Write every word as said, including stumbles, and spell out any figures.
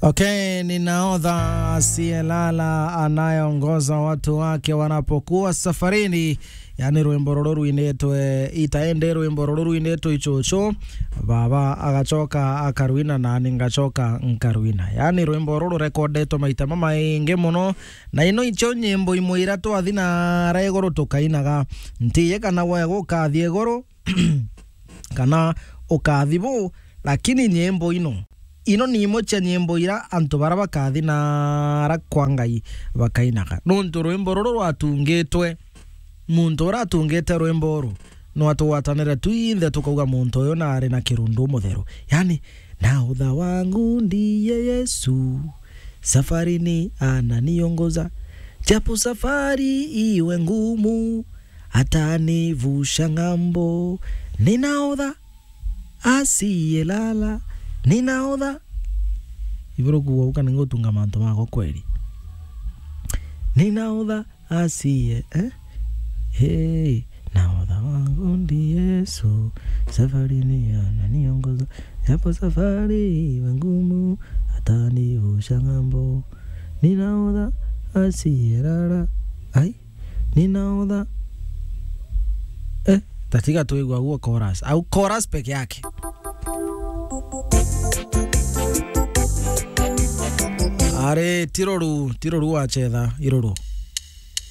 Okay, ni nahodha asiyelala anayeongoza watu wake wanapokuwa safarini. Yani rwimbo ruru rwinitwe itaende, rwimbo ruru rwinitwe ichuchu, baba agacoka akarwina na ni ngacoka nkarwina. Yani rwimbo ruru rurekondetwe maita mamaingi muno, na ino icio nyimbo imwe ira twathi na ara iguru tukainaga. Ntiye kana we gukathie iguru kana ukathi bu, lakini nyimbo ino, ino ni imwe cia nyimbo ira antu bara bakathi na ara kwa Ngai bakainaga. Nontu rwimbo ruru rwatungitwe, muntu uria atungite rwimbo uru no atugwatanire twinthe tukauga, muntu uyu nari na kirundu mutheru. Yani, nahodha wangu ndiye Yesu, safarini ananiongoza, japo safari iwe ngumu, atanivusha ng'ambo. Ni nahodha asiyelala, ni nahodha. Iburu kuuga uka ningutunga mantu makwa kweli. Ni nahodha asiye, eh? Hey, nahodha wangu ndi Yesu, safarini ananiongoza, japo safari iwe ngumu, atanivusha ng'ambo. Ni nahodha asiyelala. Ai, ni nahodha. Eh, tatiga tuigua guo chorus. Au chorus peke yake. Are, tiruru, tiruru wachetha, iruru.